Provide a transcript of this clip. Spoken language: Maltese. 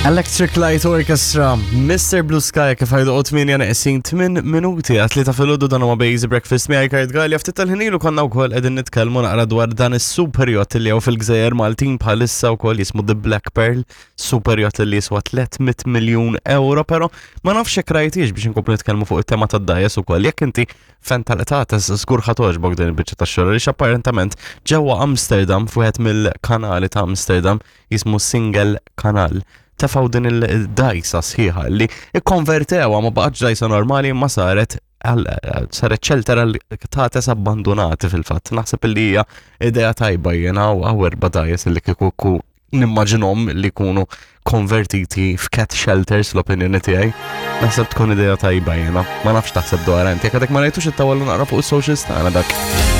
Electric Light Orchestra, Mr. Blue Sky kif għajdu 8 neqsin 8 minuti għat li ta' filgħodu dan huwa Basic Breakfast miegħi Kurt Gallia ftit tal-ħinilu konna wkoll qegħdin nitkellmu naqra dwar dan is-super yacht li hawn fil-Gżejjer Maltin bħalissa wkoll jismu The Black Pearl, super yacht li jiswa 300 miljun euro, però ma nafx jekk rajtix biex inkomplu nitkellmu fuq it-tema tad-dajes ukoll. Jekk inti fan tal-qtates żgur ħa togħġbok din il-biċċa tax-xogħol għaliex apparentament ġewwa Amsterdam f'wieħed mill-kanali ta' Amsterdam jismu Single Kanal tefgħu din il-dajsa sħiħa li ikkonvertewha ma baqgħetx dajsa normali imma saret saret shelter għal qtates abbandonati fil-fatt. Naħseb li hija idea tajba jiena u għaw erba' dajes li kieku nimmaġinhom li jkunu konvertiti f'cat shelters l-opinjoni tiegħi. Naħseb tkun idea tajba jiena. Ma nafx taħseb dwar inti. Jekk għadek ma rajtux it-tawallu naqra fuq is-socials tagħna dak.